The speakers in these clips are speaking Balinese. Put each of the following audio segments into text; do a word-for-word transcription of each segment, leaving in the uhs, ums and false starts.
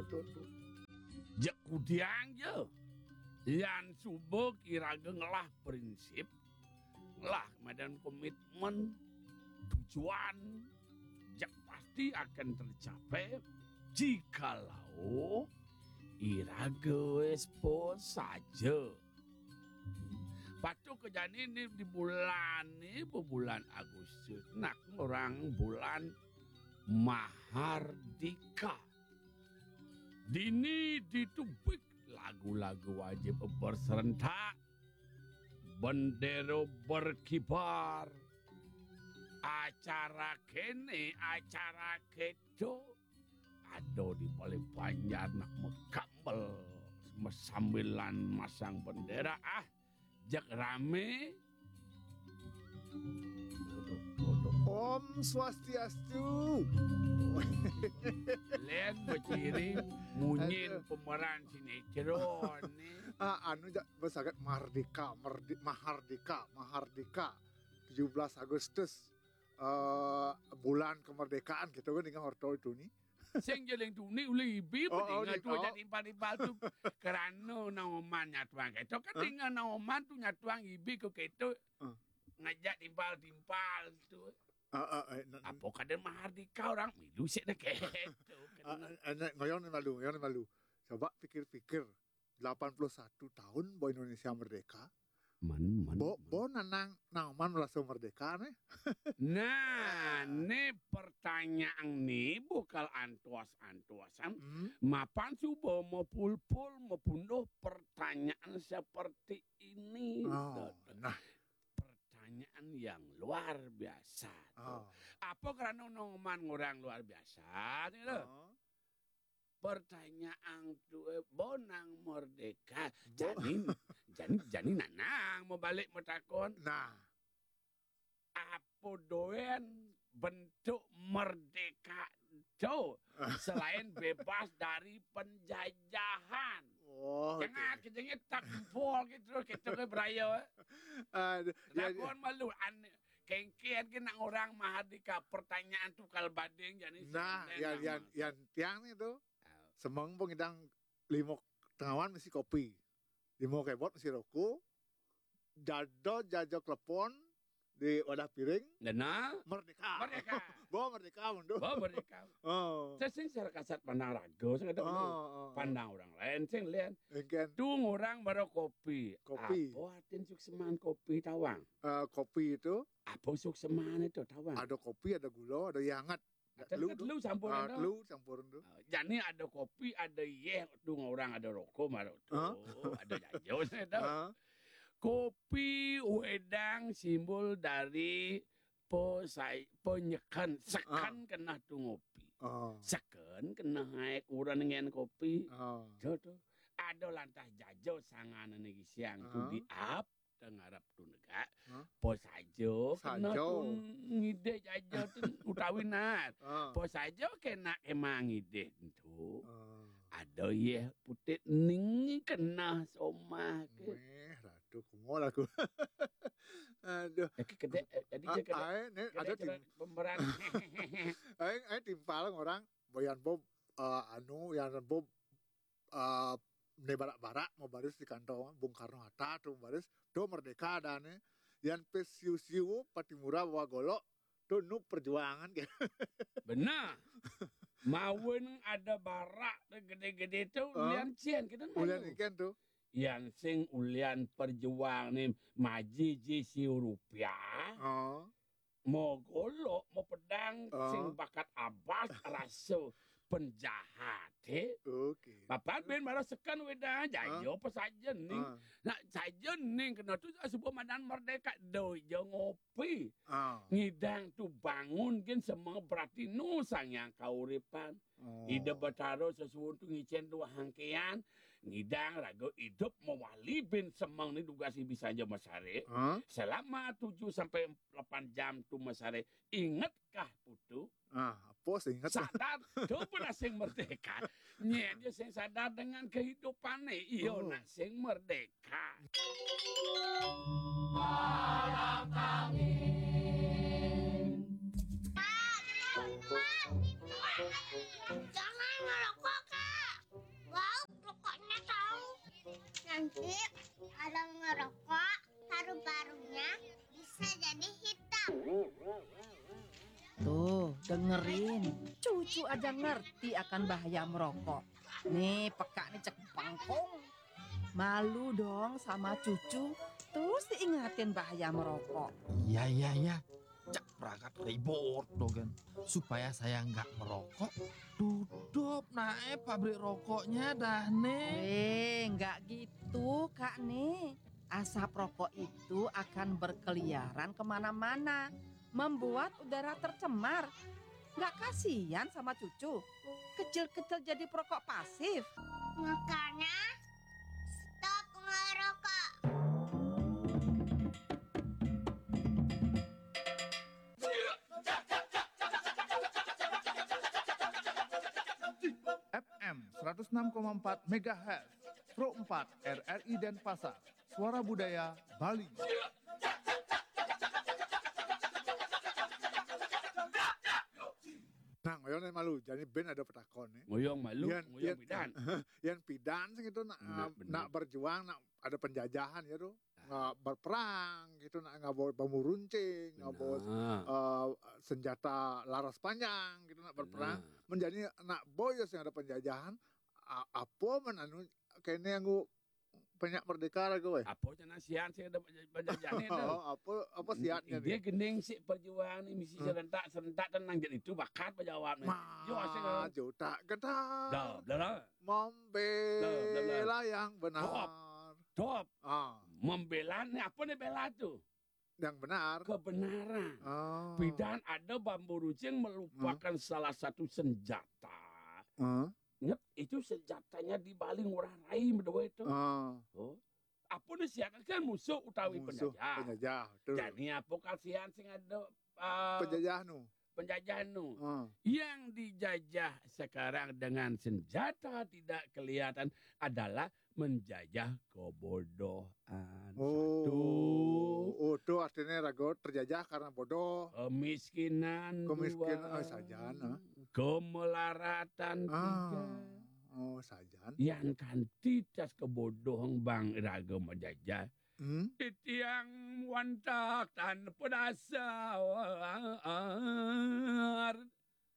Tuh, tuh. Jak kudiang ja. Yan suba iraga ngelah prinsip, ngelah madan komitmen, tujuan, jak pasti akan tercapai jikalau iraga wis puas saja. Patuh ka jani ni di bulan ni, bulan Agustus, nak orang bulan Mahardika. Dini ditubik lagu-lagu wajib berserentak, bendera berkibar, acara kene, acara keto, ada di balai banjar nak makambel, masambilan masang bendera, ah, jak rame. Om Swastiastu. Len beciri munyin pemeran sinetron ni. Ah, anu, jak besagat Mardika, Merdi-, Mahardika, Mahardika. Tujuh belas Agustus, eh, bulan kemerdekaan gitu kan, dengan orto itu ni. Sing jeling tuni uli ibi. Oh, oh, peninga tu oh. Ajak timpal-timpal tu. Kerana Naoman nyatuang keto kan. Hah? Tinggal Naoman tu nyatuang ibi ke keto. Hah? Ngajak timpal-timpal tu. Ah, ah, eh, na-, apa kada Mahardika orang milu sik dah keto. Ah, kena. Eh, eh, ngoyong ni malu, ngoyong ni malu. Coba pikir-pikir, delapan puluh satu tahun bo Indonesia merdeka. Man, man, bo, man. Bo nanang, nang man merasa merdeka nih. Nah, ni pertanyaan ni bukal antuas-antuasan. Hmm. Mapan suba mapulpul, mapunduh pertanyaan seperti ini. Oh, nah. Pertanyaan yang luar biasa tu. Oh. Apa kerana Naoman orang luar biasa tu? Oh. Pertanyaan tu, eh, bo nang merdeka. Bo- Jani, jani, jani nanang mabalik matakon. Nah. Apa doen bentuk merdeka tu selain bebas dari penjajahan? Oh, jangan betul. Kejengit tak empol gitu, kita ke beraya, eh. Aduh, ya, ya. Takon malu, an-, kengken ke nak orang Mahardika, pertanyaan tu kal bading jani. Nah, yang, yang, yang tiang ni tu, ah. Semang pun ngidang lima tengawan mesti kopi. Lima kebot mesti rokok. Jado jajo klepon di wadah piring. Dana. Merdeka. Merdeka. Bo merdeka mundur. Bo merdeka. Oh. Saya sing secara kasat pandang raga, saya kata, oh, oh, oh. Pandang orang lain, sing lain. Engken. Tu orang baru kopi. Kopi. Apa artin sukseman kopi tawang? Eh, kopi itu. Apa sukseman itu tawang? Ada kopi, ada gula, ada yang hangat. Telu, telu campur. Ah, tu. Telu campur tu. Ah, jani ada kopi, ada yeh tu, orang ada rokok malu tu. Hah? Ada jajo saya tahu. Hah? Kopi wedang simbol dari pesai, penyeken, seken kena tu ngopi. Ah. Seken kena hai kurang dengan kopi. Ah. Tu, tu. Ada lantah jajo sangan ni siang tu di ap. Tengarap tu negak. Hah? Po saja kena. Saja. Tu ngidih jaja tu utawi nat. Ah. Po saja kena emang ngidih tu. Ah. Ada yeh putit ning kena somah ke. Meh, ratu kumol aku. Aduh. Eh, ke-, kedek, eh, jadi ah, je kedek, ai, ni kedek ada cerita tim- pemeran. Ai, ai timpal orang, boyan Bob, eh, anu, yang Bob, eh, ne barak-barak mau baris di kantong Bung Karno Hatta tu baris, tu merdeka dah ni. Yang pe siu-siu Patimura bawa golok, tu nu perjuangan ke. Benar. Mawen ada barak tu gede-gede tu, ah, ulian cien kita malu. Ulian ikan tu. Yang sing ulian perjuang ni maji ji siu rupiah. Oh. Mo golok, mo pedang, ah, sing bakat abas rasa penjahat, eh. Okey. Bapak bin marah sekan weda, jayo ah, apa saja ni. Ah. Nak saja ni kena tu sebut madan merdeka, doi je ngopi. Ah. Ngidang tu bangun kin semua berarti nu sang yang kauripan. Oh. Ida Batara sesuatu ngicen dua hangkean, ngidang raga idup mewali bin semang ni dugas ibi sanja masare. Hah? Selama tujuh sampai lapan jam tu masare, ingatkah putu? Ah, apa sing ingat? Sadar, tu pun asing merdeka. Nyet dia sing sadar dengan kehidupan ni. Iyo, oh, nak sing merdeka. Jangan ngerokok, Kak. Kalau ngerokok, paru-parunya bisa jadi hitam. Tuh, dengerin. Cucu aja ngerti akan bahaya merokok. Nih, peka nih cek bangkong. Malu dong sama cucu. Terus diingatin bahaya merokok. Iya, iya, iya. Cak perangkat ribut tuh kan. Supaya saya nggak merokok, tutup nae pabrik rokoknya dah nih. Eh, nggak gitu, Kak nih. Asap rokok itu akan berkeliaran kemana-mana, membuat udara tercemar. Nggak kasihan sama cucu? Kecil-kecil jadi perokok pasif. Makanya, stop ngerokok. F M seratus enam koma empat megahertz, Pro empat R R I Denpasar, Suara Budaya Bali. Nah, ngoyong nih malu. Jadi ben ada petakon nih. Ngoyong malu, Yan, ngoyong yan, pidan. Yan pidan sing itu nak, Benar, nak, benar. Nak berjuang, nak ada penjajahan ya tuh. Nggak berperang gitu, nak nggak bawa bambu runcing, nggak bawa Benar. eh, senjata laras panjang gitu, nak berperang. Benar. Menjadi nak boyos yang ada penjajahan. A- apa men anu kene yang banyak merdeka lah gue. Apa cina sian sih ada penjajahan itu? Oh, apa apa siatnya Dia nih? Gening sih perjuangan ini misi serentak serentak tenang jadi itu bakat berjawab nih. Yo asik. Maju tak gentar. Dah, dah, dah. Membela Dah, dah, dah. Yang benar. Top. Ah, Membela nih apa nih bela tuh? Yang benar. Kebenaran. Ah. Pidan ada bambu runcing melupakan salah satu senjata. Ah. Ingat, itu senjatanya di Bali ngurah rai berdua itu. Ah. Oh. Apa nih siakan kan musuh utawi Musuh penjajah. Penjajah, betul. Jadi apa kasihan sing ada uh, Penjajah nu. Penjajah nu. Ah. Yang dijajah sekarang dengan senjata tidak kelihatan adalah menjajah kebodohan. Oh, Satu. Oh, tuh artinya rago terjajah karena bodoh. Kemiskinan. Kemiskinan, Dua. Oh, sajan, ah. Kemelaratan. Tiga. Ah. Oh, sajan. Yang kantitas kebodohan bang raga menjajah. Hmm? Titiang wantak tanpa dasar.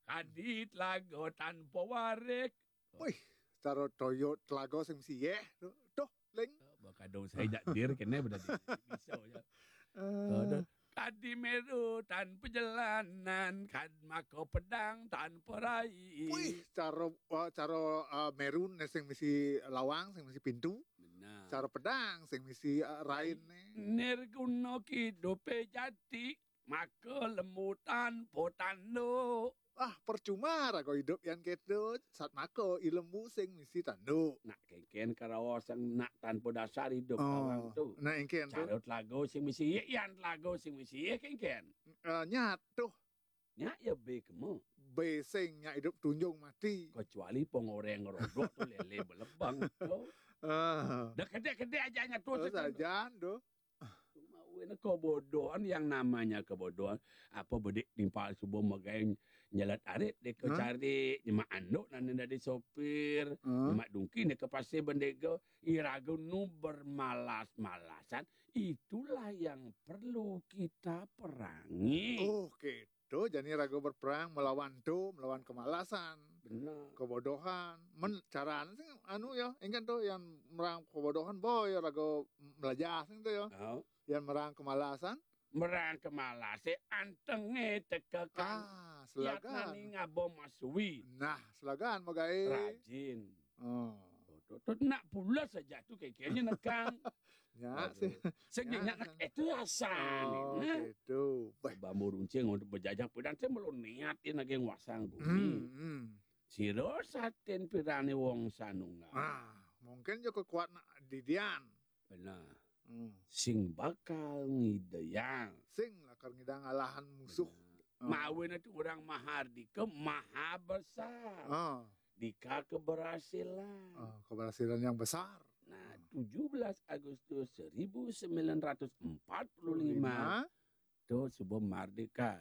Kadit lago tanpa warik. Wih, cara toyo telago sing mesti yeh. Tuh, tuh, ling. Bakadong saya jak dir kena berarti. Bisa ya. Eh, Aduh. Kadi meru tanpa jalanan, kad mako pedang tanpa rai. Wih, cara uh, cara uh, merun sing mesti lawang, sing mesti pintu. Benar. Cara pedang sing mesti uh, rain nih. Nirguna kidupe jati, maka lemu tanpa tanduk. Ah, percuma rago hidup yang ketu, sat mako ilmu sing mesti tanduk. Nak kengken karawa sang nak tanpa dasar hidup Oh, orang tu. Nah, engken tu. Carut lagu sing mesti ye, yan lagu sing mesti ye kengken. Uh, nyat tuh. Nya ya be kemu. Be sing nya hidup tunjung mati. Kecuali pengoreng rodok tu lele belebang tu. Ah. Dah kedek-kedek aja nya tu. Terus sajan tu. Cuma wena kebodohan yang namanya kebodohan. Apa bedik timpal subuh megai nyelat arit deka Hah? Cari nyemak anduk nan dari sopir, Hah? Nyemak dungki deka pasir bendega, iraga nu bermalas-malasan. Itulah yang perlu kita perangi. Oh, gitu. Jadi rago berperang melawan tu, melawan kemalasan, Benar. Kebodohan. Men carane sing anu ya, engken tu yang merang kebodohan boy rago melajah sing tu ya. Oh. Yang merang kemalasan. Merang kemalase antenge teka kan. Ah, selagan. Yatnani ngabo masui. Nah, selagan megai. Rajin. Oh. Tu, tu, tu, nak pula saja tu kekenya nekang. Ya, Aduh. sih. Sing Ya. Nak itu asan. Oh, Nah. Gitu. Baik. Bambu runcing untuk berjajah pedang saya belum niat ini lagi wasang Hmm, gumi. hmm. Siro satin pirani wong sanunga. Ah, mungkin juga kuat nak didian. Benar. Hmm. Sing bakal ngideyang. Sing lakar ngidang alahan musuh. Ah. Mawin itu orang mahardika, maha besar. Ah, Dika keberhasilan. ah, keberhasilan yang besar. Nah, tujuh belas Agustus seribu sembilan ratus empat puluh lima tu subuh merdeka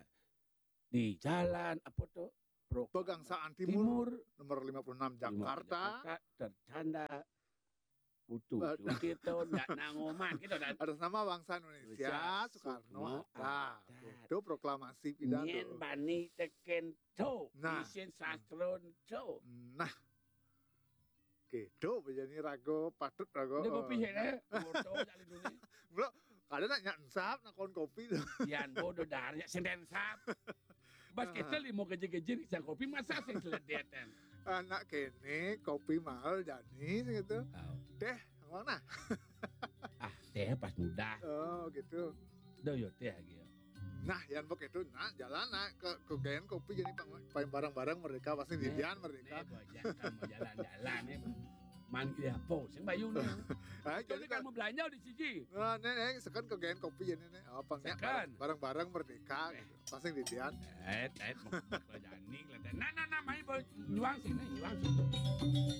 di jalan apa tu? Proklama Pegangsaan Timur, Timur. Nomor lima puluh enam Lima Jakarta. Jakarta tertanda Putu, Tirto, ndak nangoman, gitu kan. Atas nama bangsa Indonesia, Indonesia, Soekarno, Soekarno, Hatta. Hatta. Gitu, proklamasi pidato. Nyén bani tekén to, nah, isin sastra to. Nah. Gitu, jadi rago, patut rago. Udah kopi ya, deh. Foto, cari dulu. Bro, kadang nak nyak ensap, nak kon kopi tuh. Yan, bodoh dar, ya, sing ensap. Bas kita limo keje-keje, sang kopi, masa sing seledetan. Anak kene, kopi mahal, jadi, gitu. Teh, yang mana? Ah, teh pas muda. Oh, gitu. Do yo teh lagi ya. Nah, yang begitu, nah, jalan, nah, ke, ke Gen Kopi, jadi pang-, pang bareng-bareng merdeka, pasti didian merdeka. Nih, gua ajak kamu jalan-jalan, nih. Man, iya, po, sing bayu nih. Ah, jadi kan mau belanja di siji. Nah, nih, nih, sekan ke Gen Kopi, jadi nih, apa, nih, sekan. Bareng-bareng merdeka, gitu. Pasti didian. Eh, eh, mau, mau jalan nih, kelihatan. Nah, nah, nah, main, boy. Nyuang sini, nyuang sini.